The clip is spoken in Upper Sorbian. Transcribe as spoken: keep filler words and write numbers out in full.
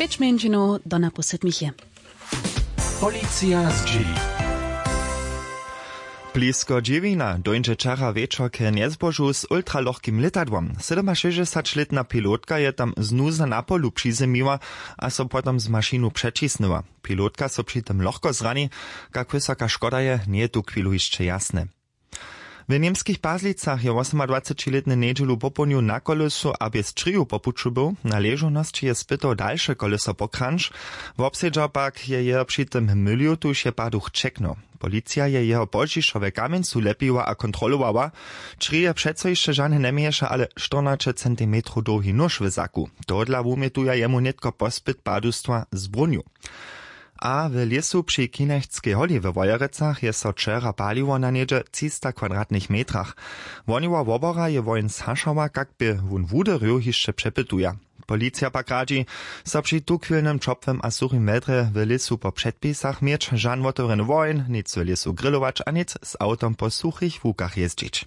Pěć mjeńšinow do napow sydmich je. Policija zdźěli. Blisko dźěwina dóńdźe wčera wječor k njezbožu z ultralochkim lětadłom. Sydomašěsćdźesaćlětna pilotka je tam z nuza na polu přizemiła a so potom z mašinu přećisnyła. Pilotka so při tym lochko zrani. Kak wysoka škoda je, njeje tuchwilu hišće jasne. W němskich Pazlicach je wosomadwacećilětny njedźelu popołdnju na kolesu a bjez čriju po puću był. Na ležownosći je spytow dalše koleso pokranč. Wobsedźał pak je jeho při tym mylił, tuž je paduch ćeknył. Policija je jeho pozdźišo w kamjencu lepiła a kontrolowała. Črij je přeco hišće žane njeměješe, ale štyrnaće centimetrow dołhi nóž w zaku. Tohodla wumjetuja jemu nětko pospyt padustwa z brunju. A w lěsu při Kinechskej holi we Wojerecach je so wčera paliło na něhdźe třista kwadratnych metrach. Woniła wobora je woheń zhašała, kak bě wón wuderju, hišće přepytuja. Policija pak radźi, so při tuchwilnym ćopłym a suchim wjedrje w lěsu po předpisach měć, žan wotewrjeny woheń, nic w lěsu grilować a nic z awtom po suchich łukach jězdźić.